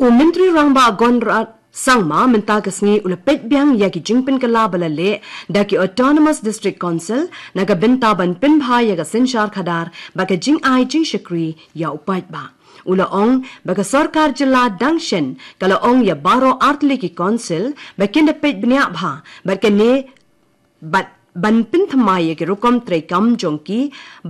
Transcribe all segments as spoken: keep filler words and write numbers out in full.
U Myntri Rangbah Conrad Sangma mynta ka sngi u la peit biang ïa ki jingpynkylla ba la leh da ki Autonomous District Council na ka bynta ban pynbha ïa ka synshar khadar bad ka jingai jingshakri ïa u paidbah. U la ong ba ka sorkar jylla dang shen ka la ong ïa baroh artylli ki council ba kin da peit bniah bha bad kane bad ban pynthymmai ïa ki rukom treikam jong ki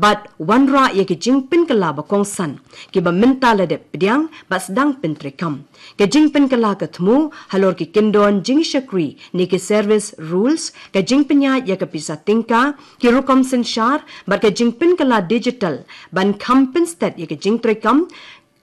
bad wanrah ïa ki jingpynkylla ba kongsan kiba mynta la dep pdiang bad sdang pyntreikam. Ka jingpynkylla ka thmu halor ki kyndon jingshakri ne ki service rules, ka jingpynïaid ïa ka pisa tyngka, ki rukom synshar bad ka jingpynkylla digital ban kham pynstet ïa ka jingtreikam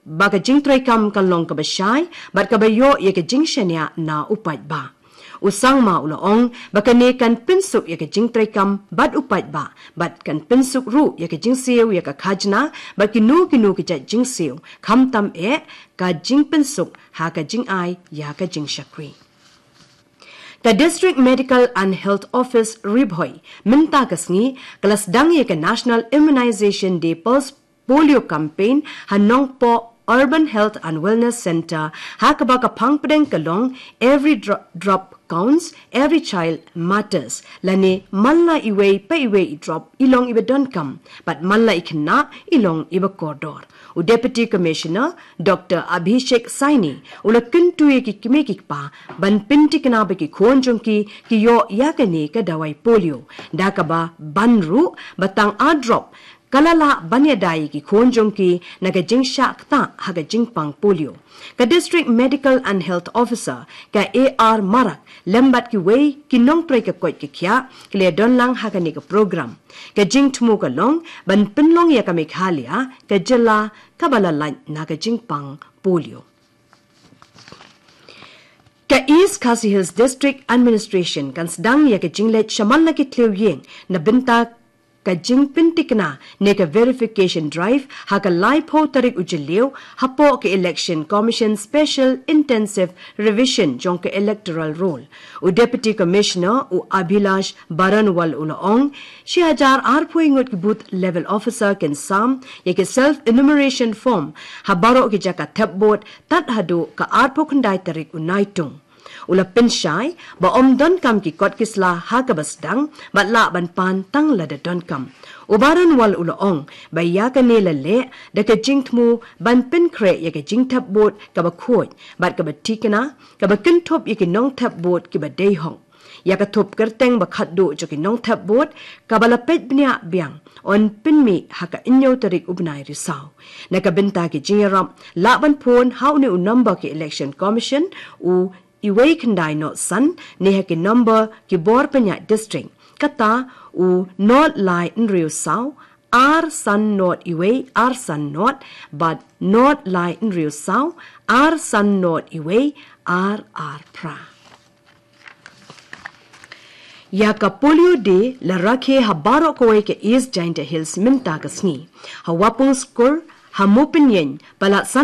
ba ka jingtreikam kan long kaba shai bad kaba ïoh ïa ka jingshaniah na u paidbah. U Sangma u la ong ba kane kan pynsuk ïa ka jingtreikam bad u paidbah bad kan pynsuk ruh ïa ka jingsiew ïa ka khajna bad kino kino ki jait jingsiew, khamtam eh ka jingpynsuk ha ka jingai ïa ka jingshakri. Ka District Medical and Health Office Ri Bhoi mynta ka sngi ka la sdang ïa ka National Immunization Day Pulse Polio Campaign ha Nongpoh Urban Health and Wellness Centre, ha kaba ka phang pdeng ka long Every Dro- Drop Counts, Every Child Matters, lane man la iwei pa iwei i drop i long iba donkam bad man la i khynnah i long iba kordor. U Deputy Commissioner Doctor Abhishek Saini u la kyntu ïa ki kmie ki kpa ban pyntikna ba ki khun jong ki ki ïoh ïa kane ka dawai polio, da kaba ban ruh ba tang ar drop ka la lah ban ïada ïa ki khun jong ki na ka jingshah ktah ha ka jingpang polio. Ka District Medical and Health Officer ka A R Marak lem bad kiwei ki nongtrei ka koit ka khiah ki la ïadon lang ha kane ka program. Ka jingthmu ka long ban pynlong ïa ka Meghalaya ka jylla kaba la lait na ka jingpang polio. Ka East Khasi Hills District Administration kan sdang ïa ka jingleit shaman la ki thliew ïing na bynta ka jingpyntikna ne ka verification drive ha ka laiphew tarik u Jylliew hapoh ka Election Commission Special Intensive Revision jong ka Electoral Roll. U Deputy Commissioner u Abhilash Baranwal u la ong, shi hajar arphew ngut ki booth level officer kin sam ïa ki self enumeration form ha baroh ki jaka thep vote tad haduh ka arphew khyndai tarik u Naitung. U la pynshai ba ym donkam ki kot ki sla ha kaba sdang bad lah ban pan tang lada donkam. U Baranwal u la ong ba ïa kane la leh da ka jingthmu ban pynkhreh ïa ka jingthep vote kaba khuid bad kaba thikna, kaba kynthup ïa ki nongthep vote kiba dei hok. Ïa ka thup kyrteng ba khatduh jong ki nongthep vote kaba la peit bniah biang yn pynmih ha ka hynñiew tarik u bnai Risaw. Na ka bynta ki jingïarap lah ban phone ha une u number ki Election Commission, u uwei khyndai nod san, ne ha ki number ki bor pynïaid district, kata u nod lai hynriew saw ar san nod uwei ar san nod bad nod lai hynriew saw ar san nod uwei ar ar phra. Ïa ka Polio Day la rakhe ha baroh kawei ka East Jaintia Hills mynta ka sngi. Ha Wapung Skur, ha Mopinïeng, palat san